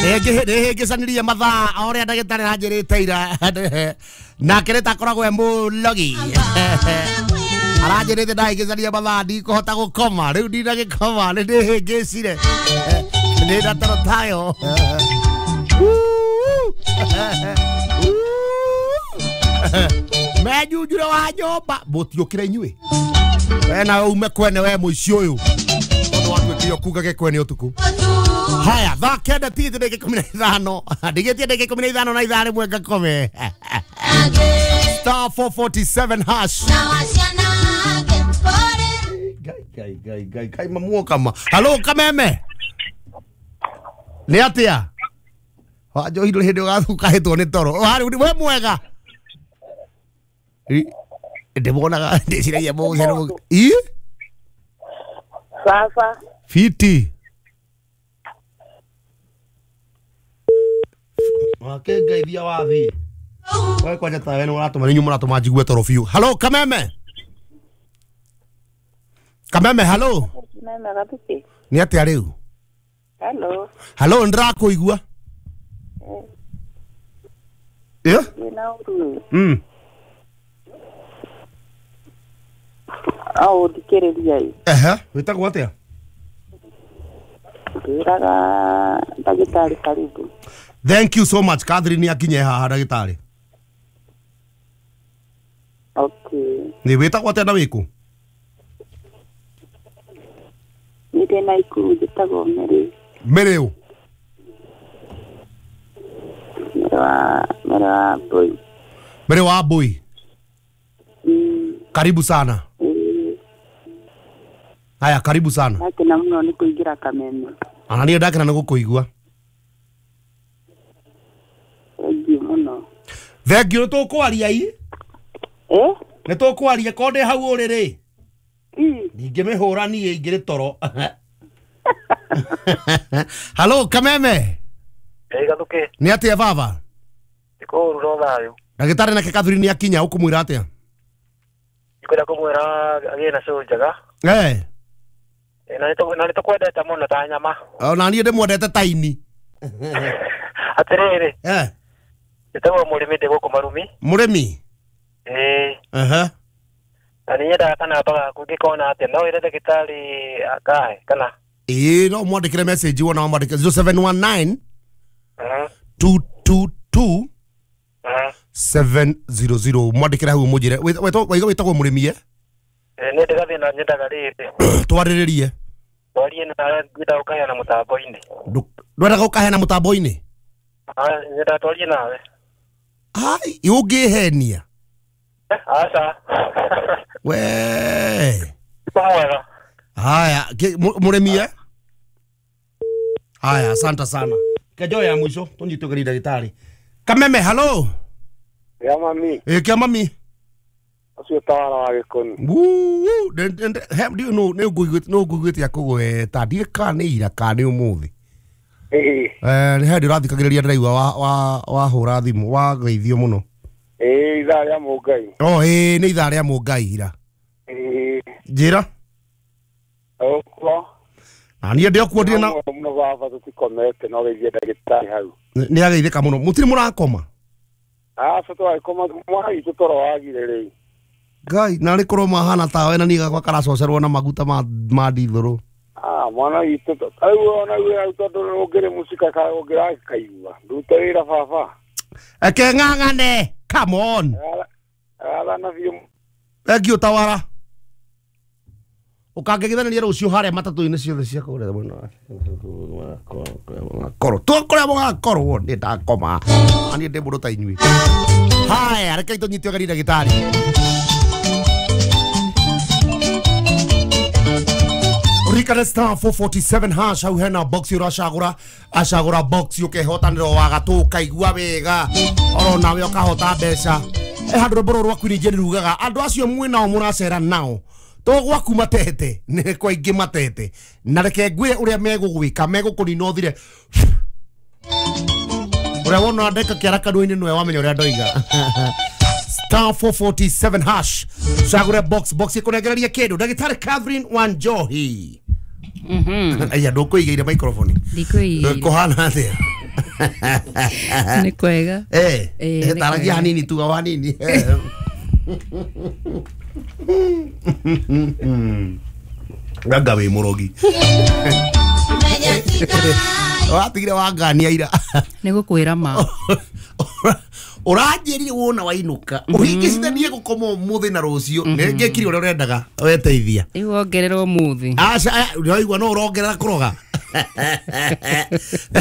Nĩhĩngĩcanirie mathaa o ũrĩa ndagĩtarĩ aranjĩrĩte ira. Nake nĩ takoragwo e mũlogi. Aranjĩrĩte ndahĩngĩcania mathaa ndikũhota gũkoma. Rĩu ndinagĩkoma nĩ ndĩhĩngĩcire. Ndĩ na toro tayo. Menjunjure wa nyũmba mũtiũkĩre inyuĩ. We nawe ume kwene we mũici ũyũ. Tondũ watuĩkire ũkungage kwene ũtukũ. Haya, thaa kenda tigĩte ndagĩka 15. Ndigĩtie ndagĩka 15 na ithaa rĩmwe ngakome. Star 447 hash. Ngai ngai ngai ngai ngai mamuoka ma. Halo Kameme. Nĩ atĩa? Wanjohi ndũrĩ hĩndĩ ũgathukahĩtwo nĩ toro. Harĩ we mwega. Ndĩmuonaga ndĩciragia mũgũcero. Ĩ? Sasa Fiti. Wake ngeithia wathiĩ. We kwanja tawe nĩ ũratũma nĩ inyuĩ mũratũma njigue toro biũ. Halo Kameme. Kameme halo. Meme Gathuki. Nĩ atĩa rĩu? Hello. Halo ndĩrakũigua. Ĩ? Wĩna ũru. Mm. Au thikĩrĩria ĩ. Ehe, wĩtagwo atĩa? Ngĩraga ndagĩtarĩ karibu. Thank you so much. Catherine akinye haha ndagĩtarĩ. Okay. Nĩ wĩtagwo atĩa na wĩkũ? Niĩ ndĩ Naikuru njĩtagwo Mary. Mary ũ? Mary wa Mbui. Mary wa Mbui. Mm. Karibu sana. Haya, karibu sana. Ndakena mũno nĩ kũingĩra Kameme. Ona niĩ ndakena nĩ gũkũigua. Thengiũ mũno. Thengiũ, nĩ tũkwaria i? Eh? Nĩ tũkwaria korwo ndĩ hau ũrĩ rĩ. Ĩ. Ndingĩmĩhũra niĩ ingĩrĩ toro. Halo Kameme. Ĩ Gathuki. Nĩ atĩa baba? Ndikũũru no thayũ. Ndagĩtarĩ nake Catherine nĩ akinya ũkũmwĩra atĩa? Ndikwenda kũmwĩra agĩe na cũũ njega. Eh. Na nĩ tũkwendete mũno ta nyama. Ona niĩ ndĩmwendete ta ini. Atĩrĩrĩ. Eh. Njĩtagwo mũrĩmi ndĩ gũkũ Marumi. Mũrĩmi? Ĩĩ. Ehe. Na nĩ nyendaga kanamba gaku ngĩkona atĩa no wĩre ndagĩtarĩ akahe kana? Ĩĩ no mwandĩkĩre message wona wamwandĩkĩre 0719 222 700 mwandĩkĩre hau mũnjĩre waiga wĩtagwo mũrĩmi e? Nĩ ndĩ gathĩna nyendaga rĩrĩ. Twarĩrĩrie. Twarie nawe ngwendaga gũkaheana mũtambo-inĩ. Ndwendaga gũkaheana mũtambo-inĩ? Nyendaga twarie nawe. Ai, ũngĩhenia. Aca. We. Mwega. Haya, mũrĩmi e? Haya, asante sana. Kejo ya mwisho tũnyite ũgeni ndagĩtarĩ. Kameme, halo. Ya mami. Ĩ kĩa mami. Ũcio tawara wa gĩkoni. Wuu, ndiũ nũ nĩ ngũiguĩte akũgweta ndiĩ kana nĩ ira kana nĩ ũmũthĩ. Ĩĩ. Nĩ hĩndĩ ũrathikagĩrĩria ndĩraigua wahũra thimũ wageithio mũno. Ĩĩ ithaa rĩa Mũngai. Oh, ĩĩ nĩ ithaa rĩa Mũngai ira. Ĩĩ. Njĩra. Ũkuo. Na niĩ ndĩ okuo ndirĩ na mũno baba tũtikomete no geithie ndagĩtarĩ hau. Nĩ ageithĩka mũno. Mũtirĩ mũrakoma? Aca twagĩkoma mwana witũ toro wagire rĩu. Ngai, narĩ korwo mahana tawe na niĩ gakwa karacocerwo na maguta ma ndithũrũ. Ah, mwana witũ rĩu ona wĩ hau tondũ ũngĩrĩ mũcika ũngĩrakaigua. Ndute wĩra baba. Eke ng'ang'ane. Come on. Athana biũ. Thank you tawara. Ũkangegithanĩria rũciũ harĩa matatũ-inĩ ciothe cia kũrĩa mwena wa korwo kũrĩa mũgakorwo nĩ ndakoma. Niĩ ndĩ mũndũ ta inyuĩ. Haya, reke tũnyite ũgeni ndagĩtarĩ. Rikana star 447 hash hau hena box ũracagũra acagũra box ũkehotanĩra wa gatũ ũkaigua wega oro nawe ũkahota mbeca. Handũ rwĩmbo rũrũ rwa Queen Jane rugaga andũ acio mwĩ nao mũracera nao to gwaku matete nĩ kwa ingĩ matete na reke ngwĩre ũrĩa megũgwĩka megũkũnina ũthire ũrĩa wona ndeka kĩara kanua-inĩ nĩwe wamenya ũrĩa ndoiga. Star 447 hash cagũre box box ĩkũnengereria kĩndũ. Ndagĩtarĩ Catherine Wanjohi. Aya ndũkũigĩire microphone. Ndikũigĩire. Kũhana atĩa? Nĩ kwega. Taragia hanini tuga wa hanini. Ganga wĩ mũrogi. Watigire wangania ira. Nĩ gũkwĩra ma. Ũranjĩrire wona wainũka ũhingicithanie gũkoma ũmũthĩ na rũciũ nĩ ngĩkire ũrĩa ũrendaga weteithia. Rĩu wongerera ũmũthĩ. Aca ũraigua no ũrongerera kũroga.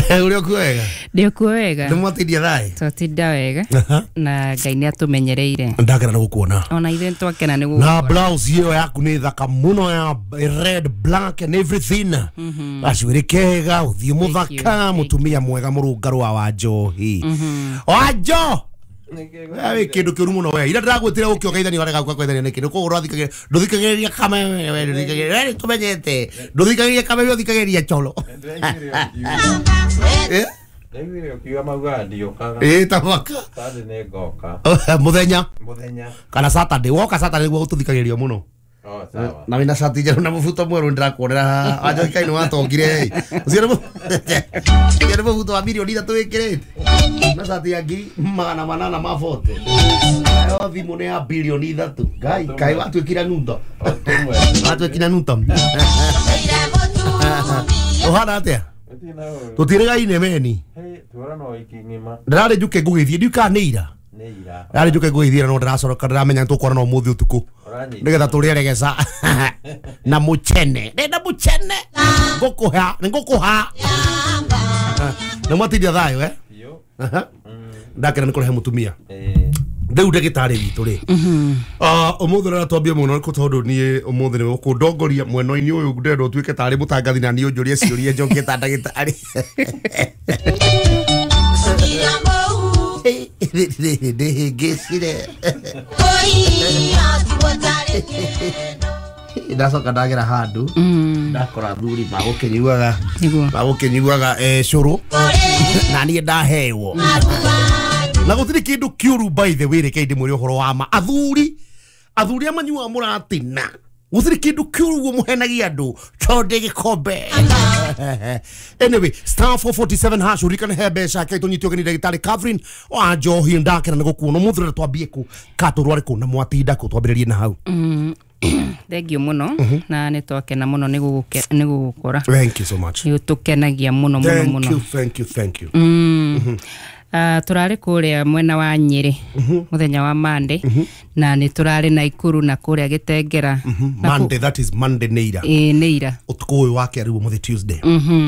Ũrĩa ũkuo wega? Ndĩ ũkuo wega. Nĩ mwatindia thayũ? Twatinda wega na Ngai nĩ atũmenyereire. Ndakena nĩ gũkuona. Ona ithuĩ nĩtwakena nĩ gũgũkora. Na blouse ĩyo yaku nĩ thaka mũno ya red black and everything. Gacuĩrĩ kega, ũthiũ mũthaka, mũtumia mwega mũrũngarũ wa Wanjohi. Wanjo! Wĩ kĩndũ kĩũru mũno we. Ira ndĩragwĩtire ũke ũgeithanie warega gũka kũgeithania nĩkĩ? Nĩ koguo ũrathikagĩrĩria ndũthikagĩrĩria kameme we ndũthikagĩrĩria we nĩtũmenyete. Ndũthikagĩrĩria kameme ũthikagĩrĩria coro. Ndaiguire ũkiuga maugaga ndiũkaga. Ta mwaka. Saturday nĩ ngoka. Mũthenya. Mũthenya. Kana Saturday. Woka Saturday nĩguo gũtũthikagĩrĩrio mũno. Oh, sawa. Na wĩna cati njerũ na mũbuto mwerũ ndĩrakuonera haha. Wanjohi kaĩ nĩwatongire ĩ. Ũcio nĩ mũbuto wa mirioni 3 wĩkĩrĩte. Na cati ya 840. Nayo thimũ nĩ ya bilioni 3. Ngai kaĩ watuĩkire nuto. Watuĩkire nuto. Ũhana atĩa? Tũtirĩgaine meni. Ndĩrarĩ njuke ngũgĩthiĩ ndiũ kana nĩ ira. Ndĩrarĩ njuke ngũgĩthiĩ no ndĩracoroka ndĩramenya nĩtũkũrana ũmũthĩ ũtukũ. Nĩgetha tũrĩe regeca na mũchene. Ndĩrenda mũchene. Ngũkũha, nĩngũkũha. Nĩ mwatindia thayũ eh? Ndakena nĩ kũrehe mũtumia. Rĩu ndagĩtarĩ witũ rĩ. Ũmũthĩ ũrĩa twambie mũno nĩ tondũ niĩ ũmũthĩ nĩwe ũkũndongoria mwena-inĩ ũyũ ndĩrenda ũtuĩke tarĩ mũtangathi na niĩ ũnjũrie ciũria njokie ta ndagĩtarĩ. Ndĩhĩngĩcire. Ndacoka ndagera handũ ndakora athuri magũkĩnyuaga cũrũ na niĩ ndaheo. Na gũtirĩ kĩndũ kĩũru by the way reke ndĩmwĩre ũhoro wa ma. Athuri arĩa manyuaga mũratina gũtirĩ kĩndũ kĩũru ũguo mũhenagia andũ tondũ gĩkombe. Anyway, star 447 hash ũririkane he mbeca ke tũnyitio ũgeni ndagĩtarĩ Catherine wa Njohi. Ndakena nĩ gũkuona ũmũthĩ ũrĩa twambie kũ ka tũrware kũ na mwatinda kũ twambĩrĩrie na hau. Thank you mũno na nĩ twakena mũno nĩ gũgũkora. Thank you so much. Nĩ ũtũkenagia mũno mũno mũno. Thank you, thank you. Tũrarĩ kũrĩa mwena wa Nyĩrĩ mũthenya wa Monday na nĩ tũrarĩ Naikuru na kũrĩa Gĩtengera. Monday, that is Monday nĩ ira. Ĩĩ nĩ ira. Ũtukũ ũyũ wa kerĩ ũmũthĩ Tuesday.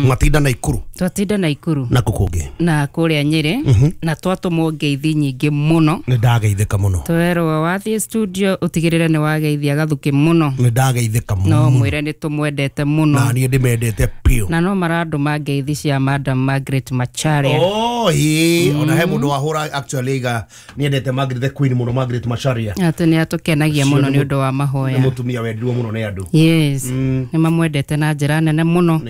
Mwatinda Naikuru. Twatinda Naikuru. Na kũ kũngĩ? Na kũrĩa Nyĩrĩ na twatũmwo ngeithi nyingĩ mũno. Nĩ ndageithĩka mũno. Twerwo wathiĩ studio ũtigĩrĩre nĩ wageithia Gathukĩ mũno. Nĩ ndageithĩka mũno. No mwĩre nĩ tũmwendete mũno. Na niĩ ndĩmendete biũ. Na no marandũma ngeithi cia Madam Margaret Macharia. Oh, ĩĩ. Ona he mũndũ wahũra actually iga niendete Margaret the Queen mũno, Margaret Macharia. Atĩ nĩ atũkenagia mũno nĩ ũndũ wa mahoya. Nĩ mũtumia wendirwo mũno nĩ andũ. Yes. Nĩ mamwendete na njĩra nene mũno.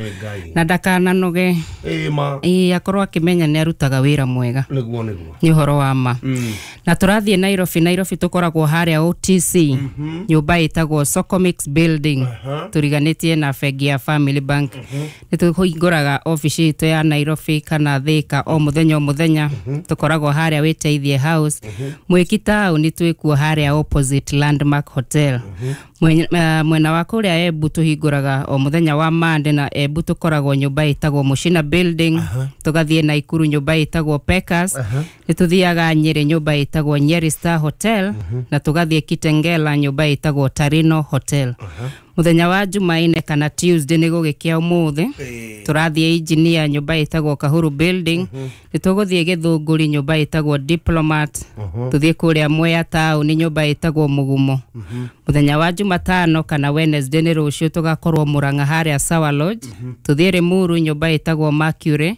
Na ndakananoge. Ĩĩ ma. Ĩĩ akorwo akĩmenya nĩ arutaga wĩra mwega. Nĩguo nĩguo. Nĩ ũhoro wa ma. Na tũrathiĩ Nairobi. Nairobi tũkoragwo harĩa OTC. Nyũmba ĩtagwo Socomix Building. Tũriganĩtie na bengi ya Family Bank. Nĩ tũhingũraga obici itũ ya Nairobi kana Thika o mũthenya o mũthenya. Tũkoragwo harĩa Wĩteithie House. Mwĩki taũni twĩkuo harĩa opposite Landmark Hotel. Mwena wa kũrĩa Embu tũhingũraga o mũthenya wa Monday na Embu tũkoragwo nyũmba ĩtagwo Mushina Building. Tũgathiĩ Naikuru nyũmba ĩtagwo Pekas. Nĩ tũthiaga Nyĩrĩ nyũmba ĩtagwo Nyeri Star Hotel na tũgathiĩ Kitengela nyũmba ĩtagwo Tarino Hotel. Mũthenya wa Jumaine kana Tuesday nĩ gũgĩkĩa ũmũthĩ tũrathiĩ Engineer nyũmba ĩtagwo Kahuru Building. Nĩ tũgũthiĩ Gĩthũngũri nyũmba ĩtagwo Diplomat. Tũthiĩ kũrĩa Mwea taũni nyũmba ĩtagwo Mũgumo. Mũthenya wa Jumatano kana Wednesday nĩ rũciũ tũgakorwo Murang'a harĩa Sawa Lodge. Tũthiĩ Limuru nyũmba ĩtagwo Mercury.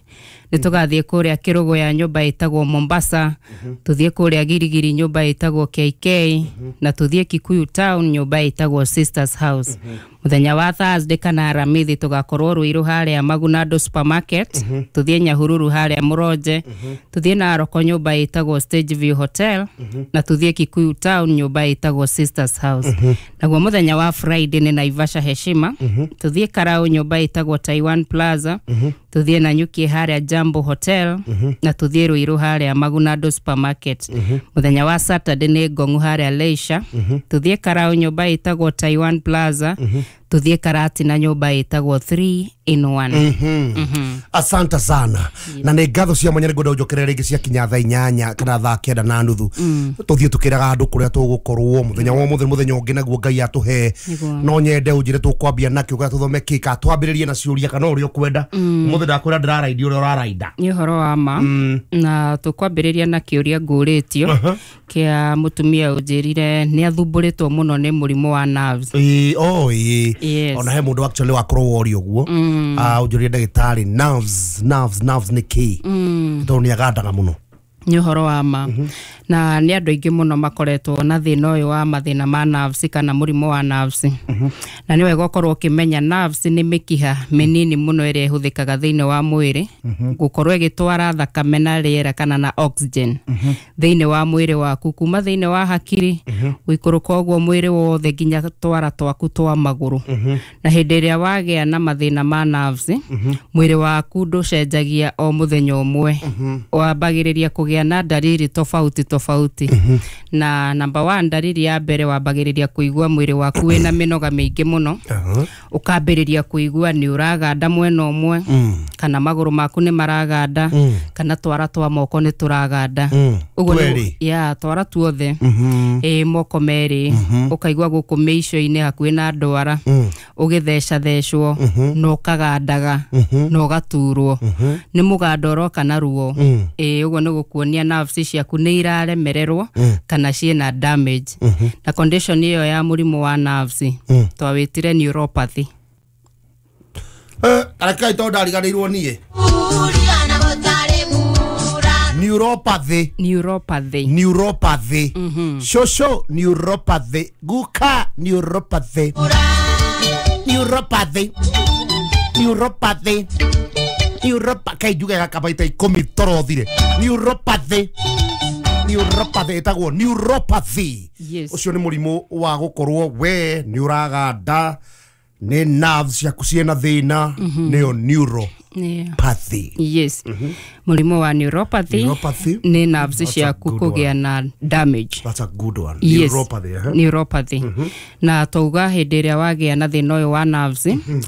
Nĩ tũgathiĩ kũrĩa Kĩrũgũya nyũmba ĩtagwo Mombasa. Tũthiĩ kũrĩa Girigiri nyũmba ĩtagwo KK na tũthiĩ Kikuyu Town nyũmba ĩtagwo Sisters House. Muthenya wa Thursday kana Aramithi tugakorwo Ruiru haria Magunado supermarket, tuthie Nyahururu haria Muronje, tuthie Naroko nyumba itagwo Stage View Hotel, na tuthie Kikuyu Town nyumba itagwo Sisters House. Naguo muthenya wa Friday ni Naivasha Heshima, tuthie Karau nyumba itagwo Taiwan Plaza, tuthie Nanyuki haria Jambo Hotel, na tuthie Ruiru haria Magunado supermarket. Muthenya wa Saturday ni Ngongu haria Leisure, tuthie Karau nyumba itagwo Taiwan Plaza, tuthie Karatina nyumba itagwo 3 in 1. Asante sana. Na nä ngatho cia mwanya nä ngwenda å njokerere rä ngä ciakinya thaa 8 kana thaa 9:30, tå thiä tå kä raga andå kå rä a tå gå korwo må wa må thenya, må thenya å ngä naguo Ngai atå he. Nĩguo. No nyende å njä re tå kwambia nakä å tå thome kä ka twambä rä rie na ciå ria kana å rä a å kwenda. Må thä ndakwä ra ndä raraindi å rä a å rarainda. Nĩ ũhoro wa ma, na tũkwambĩrĩria na kĩũria ngũrĩtio kĩa mũtumia ũnjĩrire nĩ athumbũrĩtwo mũno nĩ mũrimũ wa nerves. Ĩĩ, oh, ĩĩ. Yes. Ona he mũndũ actually wakorwo woria ũguo, ũnjũrie ndagĩtarĩ, nerves, nerves, nerves nĩ kĩ, tondũ nĩ agandaga mũno. Nĩ ũhoro wa ma, na nĩ andũ aingĩ mũno makoretwo na thĩna ũyũ wa mathĩna ma nerves kana mũrimũ wa nerves. Na nĩ wega ũkorwo ũkĩmenya nerves nĩ mĩkiha mĩnini mũno ĩrĩa ĩhũthĩkaga thĩinĩ wa mwĩrĩ gũkorwo ĩgĩtwara thakame na rĩera kana na oxygen thĩinĩ wa mwĩrĩ waku, kuma thĩinĩ wa hakiri gũikũrũka ũguo mwĩrĩ wothe nginya twara twaku twa magũrũ. Na hĩndĩ ĩrĩa wagĩa na mathĩna ma nerves, mwĩrĩ waku ndũcenjagia o mũthenya ũmwe, wambagĩrĩria kũgĩa na ndariri tofauti tofauti. Na number one, ndariri ya mbere, wambagĩrĩria kũigua mwĩrĩ waku wĩna mĩnoga mĩingĩ mũno, ũkambĩrĩria kũigua nĩ ũraganda mwena ũmwe, kana magũrũ maku nĩ maraganda, kana twara twa moko nĩ tũraganda. Ũguo Twerĩ? Ya, twara tuothe, ĩ, moko merĩ, ũkaigua gũkũ mĩico-inĩ hakuhĩ na ndwara ũgĩthecathecwo na ũkagandaga na ũgaturwo nĩ mũgando ũroka na ruo. Ĩ, ũguo nĩ gũkuonia nerves ciaku nĩ iraremererwo kana ciĩna damage. Na condition ĩyo ya mũrimũ wa nerves twawĩtire neuropathy. Arekai tondũ ndariganĩirwo niĩ. Neuropathy. Neuropathy. Neuropathy. Shosho, neuropathy. Guka, neuropathy. Neuropathy, neuropathy, neuropa kai njuge gakabaita 10 torothire. Neuropathy, neuropathy, ĩtagwo neuropathy. Yes. Ũcio nĩ mũrimũ wa gũkorwo we nĩ ũraganda, nĩ nerves ciaku ciĩna thĩna, nĩyo neuropathy. Yes, mũrimũ wa neuropathy. Neuropathy. Nĩ nerves That's a ciaku good kũgĩa na damage. That's a good one. Yes. Neuropathy, eh? Neuropathy. Na twauga hĩndĩ ĩrĩa wagĩa na thĩna ũyũ wa nerves,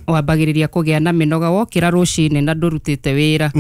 wambagĩrĩria kũgĩa na mĩnoga wokĩra rũcinĩ na ndũrutĩte wĩra.